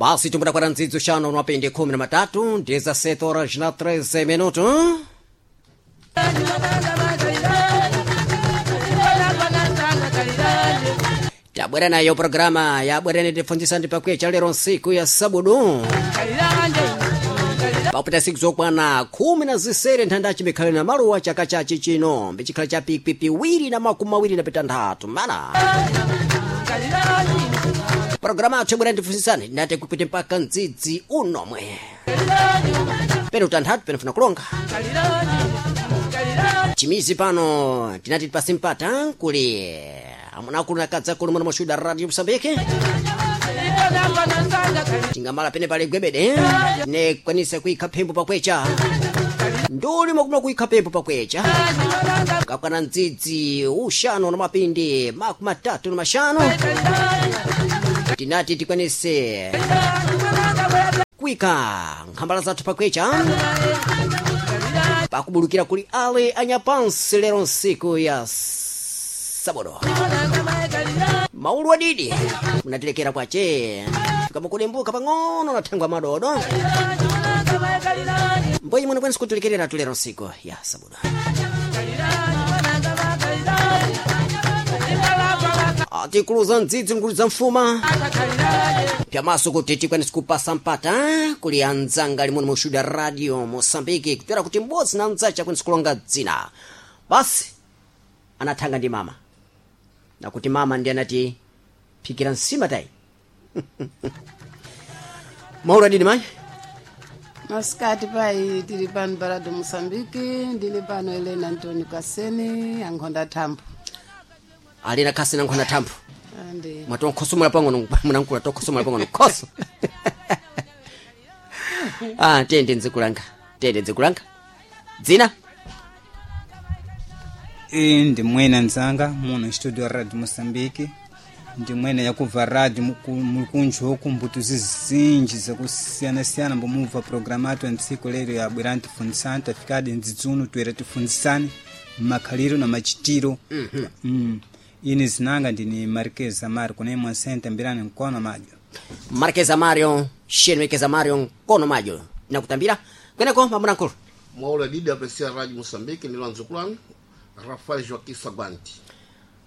Basi tumbura nzidzo shano nwapende 13 17 horas na 13 minuto. Tabwera nayo programa yabwereni tifunzisa ndipakwiya lero nsiku ya sabudu papita siku zokwana 16 nthandaci mikhale na maluwa chaka chachi chino mbicikhala cha pikwi piwiri na makumi awiri na pitanthatu mana programa athu yabwerani tifunzisani tinati kupita mpaka mdzidzi unomwe pene utanthatu pene funa kulonga chimizi pano tinati tipasi mpata kuli amunakulu nakadzakulu muno mushuda radio msambiki tingamala pene pali gwebede tinekwanisa kuikha phembo pakwecha nduli mwakumula kuikha phembo pakwecha kakwana mdzidzi uxanu na mapindi makumi atatu na maxanu tinati tikwanise kuika nkhambala zathu pakwecha pakubulukira kuli ale anyapansi lero nsiku ya sabodo maulu adidi munatilekera kwace kamakulembuka pang'ono na thangwa madodo mbwenyi munakwanisa kutilekerera tulero nsiku ya sabodo atikuluza mdzidzi mkuluza mfuma pyamaso kuti tikwanise kupasa mpata kuli anzanga limwe mushuda radio mosambiki kutera kuti m'bodzi na mdzace akwanise kulonga dzina basi anathanga ndi mama nakuti mama ndi anati phikira nsima tayi maulu adidi mayi Masikati pai tili pano pa Radio Moçambique, ndili pano Helena Antônio Kasene, ankhonda thambo. alina khasi nankhona thambo Andi. mwatonkhosomola pang'ono munankula tonkhosomola pang'ono khoso ah tiyende nzikulanga tiyende nzikulanga dzina iyi ndi mwene nzanga muno studio radio moçambique ndi mwene yakubva radio mulikunjoku mbuto zizinji zakusiyanasiyana mbomubva programa atu antsiku lero yabwera ntifunzisani tafikadi ndzidzuno toera tifunzisani makhaliro na machitiro mm. Ine zinanga ndini marquez amari kuna imwe sente mbirani mkono majo markeza mario sheni mekeza mario nkono majo nakutambira kweneko mamunankulu Mwaula didi aprecia Rádio Moçambique, ni Lanzukulan, Rafael Joaquim Saguanti.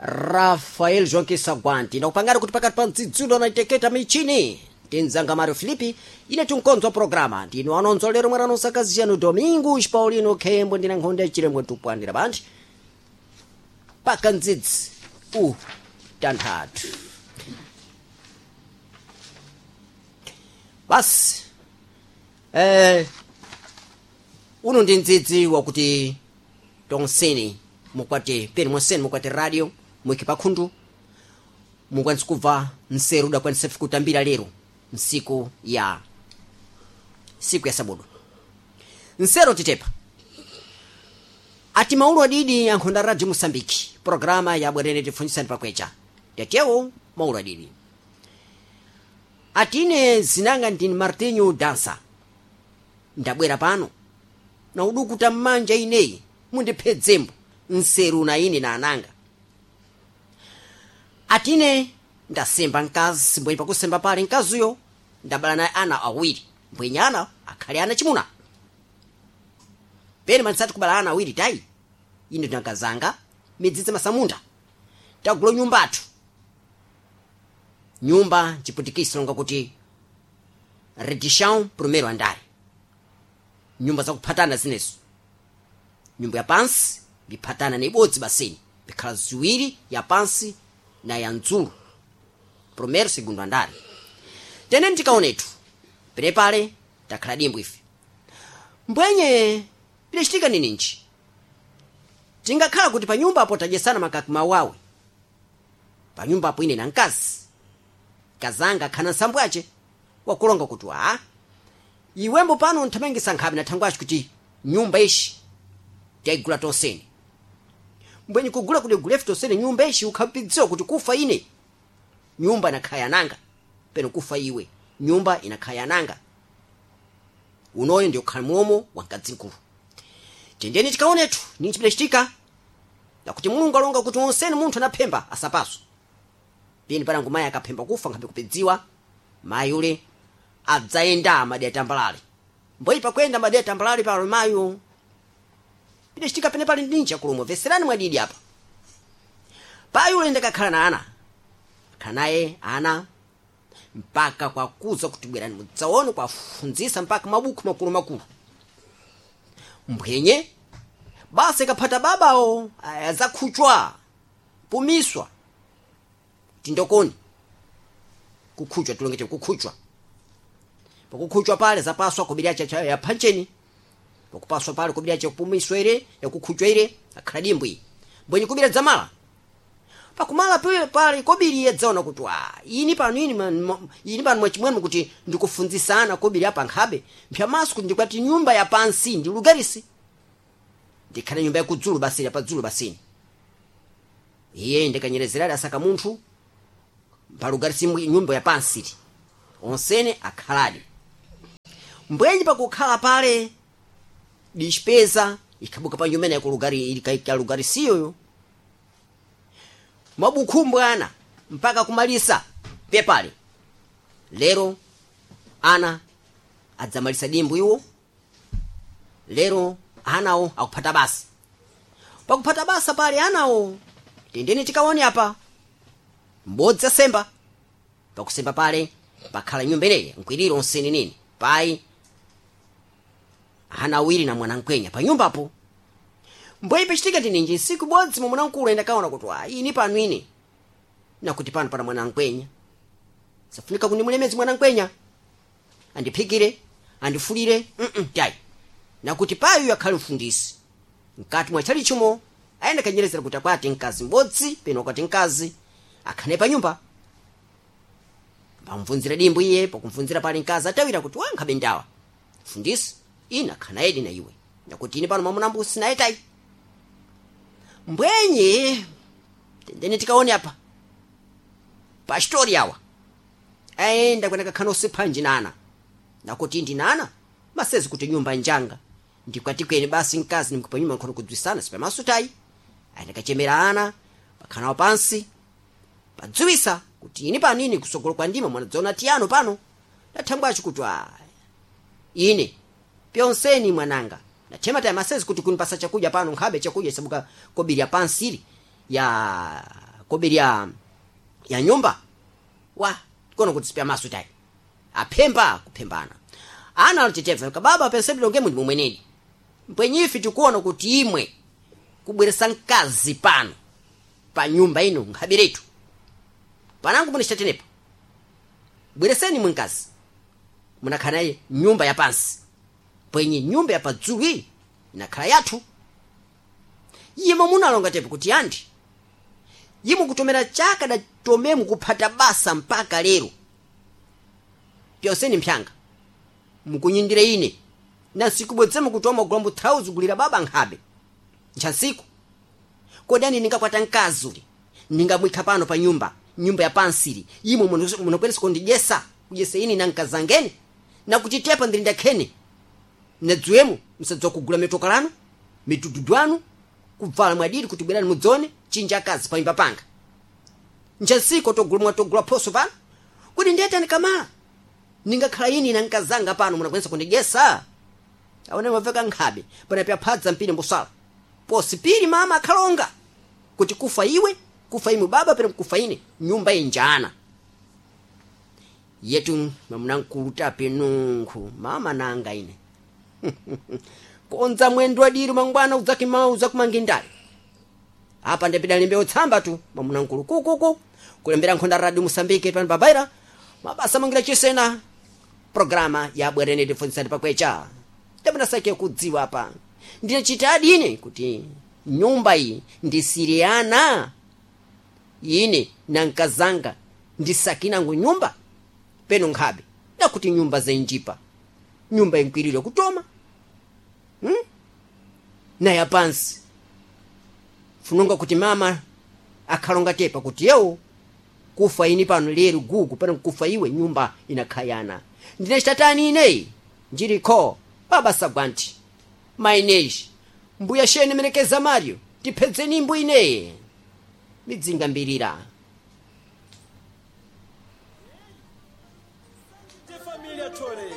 Rafael Joaquim Saguanti nakupangani kuti pakati pa mdzidzulo anaiteketa michini tinzanga Mario Filipi ine tinkonzwa programa ndinu anonzwa lero mwana nosakaziyanu Domingos Paulino Khembo ndina nkhonde ya chilembwe tupwanira banthu paka mdzidzi u tanthatu basi uno ndi mdzidzi wakuti tonseni mukwati peni monseni mukwati radio mwiki pakhundu mukwanisa kubva nseru udakwanisa kutambira lero nsiku ya siku ya sabudu nsero titepa ati maulu adidi ankhonda radio mosambiki programa yabwerene tifunzisani pakwecha yatewo maulu adidi atine zinanga ndini martinho dansa ndabwera pano na udukuta mmanja ineyi mundiphedzembo nseru na ine na ananga atine ndasemba mkazi mbwenye pakusemba pale mkaziyo ndabala naye ana awiri mbwenye ana akhale ana chimuna pene manisati kubala ana awiri tayi ine ndinakazanga midzidzi masamunda tagula nyumbatu nyumba nchiputikisi longa kuti redichão primeiro andare nyumba zakuphatana zinezo nyumba ya pansi biphatana na ibodzi baseni bikhala ziwiri ya pansi na ya mdzulu primeiro segundo andare tene ntikaonetu penepale takhala dimbwi ife mbwenye pidachitika nininji tingakhala kuti panyumba apo tadyesana makaki mawawe panyumba apo ine na mkazi kazanga akhana nsambwace wakulonga kuti aa iwembo pano nthamangisa nkhabe na thangwaci kuti nyumba ishi tiyayigula tonsene mbwenye kugula kuti gulefu tonsene nyumba ishi ukhapidziwa kuti kufa ine nyumba inakhala yananga peno kufa iwe nyumba inakhala yananga unoyo ndiyo khala mulomo wa mkadzinkulu tendeni tikaonethu nini chipidachitika nakuti mulungu alonga kuti wonsene munthu anaphemba asapaswa pini panangu mayi akaphemba kufa nkhabe kupedziwa mayi ule Adzayenda madera tambalale mboi pakwenda madera tambalale palo mayo pidachitika pene pali ndinja kulomwe veserani mwadidi apa. Payi ulenda kakhala na ana akhala naye ana mpaka kwakuza kuti bwerani mudzaone kwafunzisa mpaka mabuku makulumakulu mbwenye basi kaphata babawo azakhuchwa pumiswa tindokoni kukhuchwa tulongete kukhuchwa. Pakukhuchwa pale zapaswa kobiri acha ya pancheni pakupaswa pale kobiri acha kupumiswa ire yakukhuchwa ire akhala dimbwi mbwenye kubira dzamala pakumala pale pale kobiri yedzaona kuti ini pano ini pano mwachimwene kuti ndikufunzisana kobiri apa nkhabe mphyamaso kuti ndikwati nyumba ya pansi ndi lugarisi ndikhale nyumba yakudzulu basini yapadzulu basini. Iye ndikanyerezerali asaka munthu palugarisi nyumba ya pansi onsene akhaladi mbwenye pakukhala pale dichipeza ikhabuka pa nyumba yakulugari ikalugarisiyoyo mabukhumbu ana mpaka kumalisa pepale. Lero ana adzamalisa dimbu iwo lero anawo akuphata basa. Pakuphata basa pale anawo tendeni tikaone apa mbodzi asemba pakusemba pale pakhala nyumba ineyi nkwiriro onsene nini payi ana awiri na mwanamkwenya pa nyumbapo. Mbweyi pachitika tininji nsiku ibodzi momwe mwanamkulu ayenda kaona kuti ini pano ine nakuti pano pana mwanamkwenya safunika kundimulemezi mwanamkwenya andiphikire andifulire tayi nakuti payo akhale mfundisi mkati mwa tchalichimo ayenda kanyerezera kuti akwate mkazi m'bodzi peno akwate mkazi akhale pa nyumba. Pamvunzira dimbu iye pakumvunzira pale mkazi atawira kuti wankhabe ndawa mfundisi ine akhana edi na iwe nakuti ine pano mwamuna sinaye tayi. Mbwenye tendeni tikaone apa pastori awa ayenda kwena kakhana osiphanji nana nakuti ndinana masezi kuti nyumba njanga ndikwatikwene basi mkazi nimkupa nyumba nkhono kudzwisana sipamaso tayi. Ayenda kachemera ana pakhanawo pansi padziwisa kuti ini pano ine kusogolo kwa ndima mwanadzaona tiyano pano ndathangwacho kuti ine pyonseni mwananga nathema tayi masezi kuti kunipasa chakudya pano nkhabe chakudya isabuka kobiri ya pansili ya kobiri ya nyumba wa kono kuti sipyamaso tayi aphemba kuphembana ana alitetefa kababa pensebilo ngemu ndi mumweneni mpwenyifi tikuona kuti imwe kubweresa mkazi pano pa nyumba ino nkhabiretu panangu munachitatenepa bwereseni mwe mkazi munakhala naye nyumba ya pansi pwenye nyumba ya padzulu iyi inakhala yathu. Yimo munalonga tepo kuti andi yimo kutomera chaka datomemu kuphata basa mpaka lero pyonseni mphyanga mukunyindire ine na nsiku bwedzemo kutoma kugula mthauzi gulira baba nkhabe nthansiku kodani ningakwata mkazi uli ningamwikha pano pa nyumba nyumba ya pansili imwe munokweresa kundidyesa kudyesa ine na mkazangene nakuchitepa ndili ndakhene nadziwemo msadzowa kugula mitoka lanu mitududu anu kubvala mwadiri kuti bwerani mudzone chinja akazi panyumba panga nthansiku togula mwatogula phoso pano kuti ndiyetani kamala ningakhala ine na mkazanga pano munakwanisa kundidyesa aone maveka nkhabe panapya phadza mpiri mbusala posi pili mama akhalonga kuti kufa iwe kufa imwe baba pera kufa ine nyumba injana yetu mamunamkulu tape nunkhu mama nanga ine konza mwendo adiri mangwana uzakumangi ndale apa ndapida lembe otsamba tu mamunamkulu kukuku kulembera nkhonda radio Mosambike pano babaira mabasa mangira chisena programa ya bwerene tifunzani pakwecha ndapinasake kudziwa apa ndinachita ine kuti nyumba iyi ndisiriyana ine nankazanga ndisakinango nyumba peno nkhabe nakuti nyumba zenjipa nyumba inkwirire kutoma Naya pansi funonga kuti mama akhalonga tepa kuti yewo kufa ini pano lero gugu pano kufa iwe nyumba inakhayana ndinachitatani ineyi njilikho baba sagwanti maineji mbuya shene merekeza mario tiphedzeni imbu ineye midzinga mbirira. Família Tole.